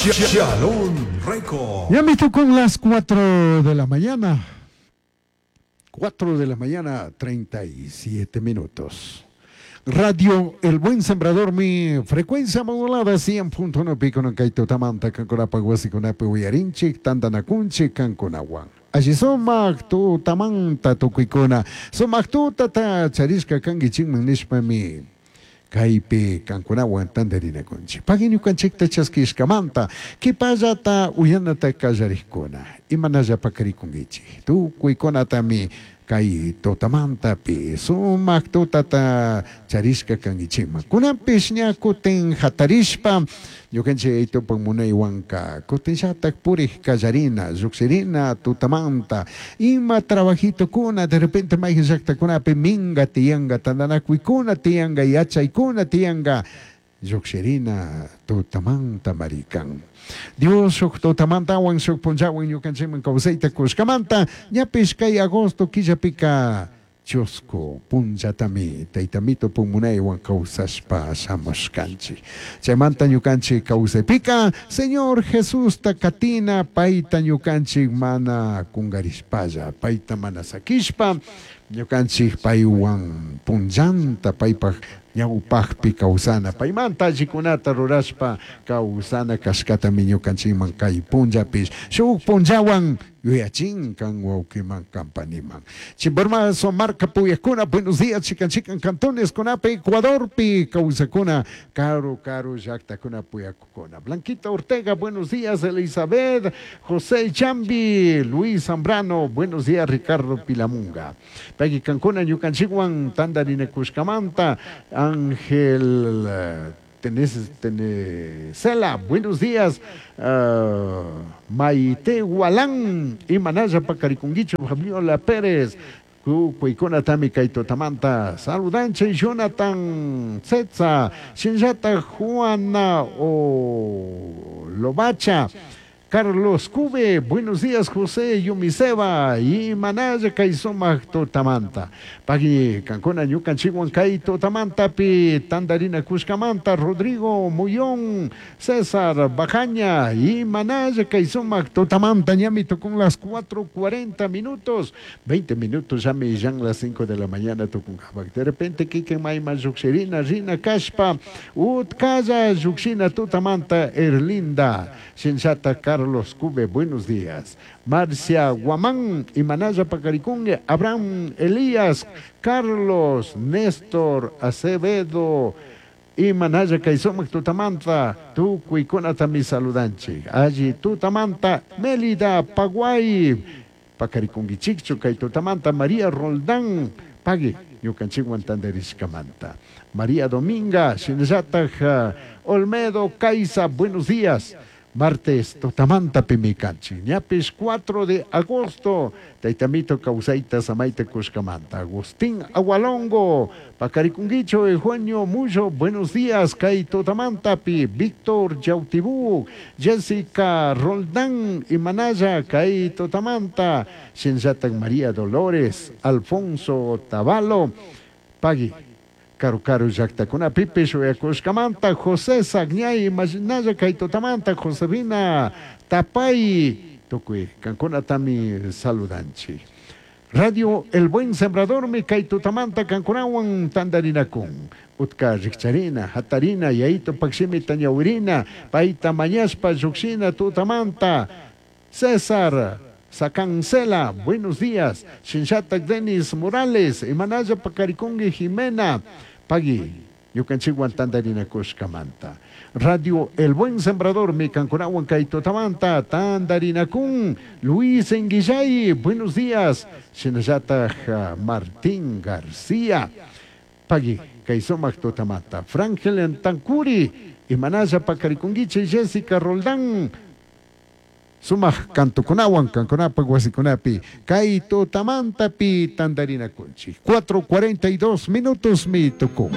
Shalom Record. Ya me tocó las 4 de la mañana. 4 de la mañana, 37 minutos. Radio El Buen Sembrador, mi frecuencia modulada 100.1 pico no kaito tamanta kankunapa wasikunapi uyarinchik tantanakunchik kankunawan. Alli sumak tutamanta tukuykuna sumak tutata charishka kankichikman nishpami kaypi kankunawan tantarinakunchik. Pagui ñukanchikta chaskishkamanta kipallata uyanata kallarikkuna imanalla pakarikunkichik tukuykunatami kay tutamantapi sumak tutata charishka kankichikman. Kunanpish ña kutin hatarishpa ñukanchik aytupak munaywanka kutinllatak purik kallarina llukshirina tutamanta ima trabajitokuna de repente mayqin llaqtakunapi minga tiyanka tantanakuykuna tiyanka yachaykuna tiyanka llukshirina tutamanta marikan. Dios shuk tutamantawan shuk punllawan ñukanchikman kawsayta kushkamanta ñapish kay agosto killapika chusku punchatami taytamito munaywan kawsashpa shamushkanchik. Chaymanta ñukanchik kawsaypika Señor Jesusta katina payta ñukanchik mana kungarishpalla payta mana sakishpa ñukanchik paywan punllanta paypaj ñawpaqpi kawsana paymanta allikunata rurashpa kawsana kashkatami ñukanchikman kay punllapish shuk punllawan yuyachin kan wawqiman kampaniman. Chimbormazo marca puyakuna buenos días chikan chikan cantones kunapi Ecuadorpi kawsakuna karu karu llaqtakuna puyakukuna. Blanquita Ortega buenos días Elizabeth José Chambi Luis Zambrano buenos días Ricardo Pilamunga. Payki kankuna ñukanchikwan tantarinakushkamanta Ángel Tenesela, buenos días. Maite Gualán, Imanaya Pacarikunguicho, Fabiola Pérez, Kuikuna Tami Kaito Tamanta, Saludanche, Jonathan Tzetza, Shinjata Juana o Lobacha. Carlos Cube, buenos días José Yumiseba y Manaya Kaisumak Totamanta. Pagui Cancuna Ñukan Chihuan Kai Totamanta Pi Tandarina Cuscamanta, Rodrigo Muyón, César Bajaña y Manaya Kaisumak Totamanta, ñamito con las 4:40 minutos, 20 minutos ya me yan las 5 de la mañana tucunjabak. De repente Kike Maima Yuxerina, Rina Kashpa, Utkaya Yuxina Totamanta, Erlinda, Shinchata Carlos Cube, buenos días. Marcia Guamán, Imanaya Pacaricungue, Abraham Elías, Carlos, Néstor Acevedo, Imanaya Kaisomac Tutamanta, Tucuicona mi saludanchi. Allí Tutamanta, Mélida Paguay, Pacaricunguichicho, Kaitutamanta, María Roldán, Pagui, ñukanchikwan tantarishkamanta. María Dominga, Shinllataj, Olmedo, Caiza, buenos días. Martes, Totamanta Pimicanchi, ñapis 4 de agosto, Taitamito Causaita Samaita Cuscamanta, Agustín Agualongo, Pacaricunguicho, Eugenio Muyo, buenos días, Kai Totamanta Pi, Víctor Yautibú, Jessica Roldán y Manaya, Kai Totamanta, Shinzatan María Dolores, Alfonso Tavalo, Pagui. Karu karu llaqtakuna pipish uyakushkamanta José Sagñay Imaginaya Kaitotamanta Josefina Tapay tukuy kankunatami saludanchik. Radio El Buen Sembrador mi Kaitotamanta kankunawan tantarinakun. Utka rikcharina, hatarina, yayito pakshimi tañawirina, payta mañashpa llukshina tutamanta César Sacancela, buenos días. Shinchatak Denis Morales, Imanaya Pacaricungue Jimena, Pagui, ñukanchikwan tantarinakushkamanta. Radio El Buen Sembrador, mi kankunawan Kaitotamanta, tantarinakun, Luis Enguillay, buenos días. Shinallataj Martín García, Pagui, Kaisomak Totamanta, Frangel Tancuri, Imanaya Pacaricunguiche, Jessica Roldán, Sumak kantukunawan kankunapaq wasikunapi kay tutamantapi tantarinakunchik. 4:42 minutos mi tukun.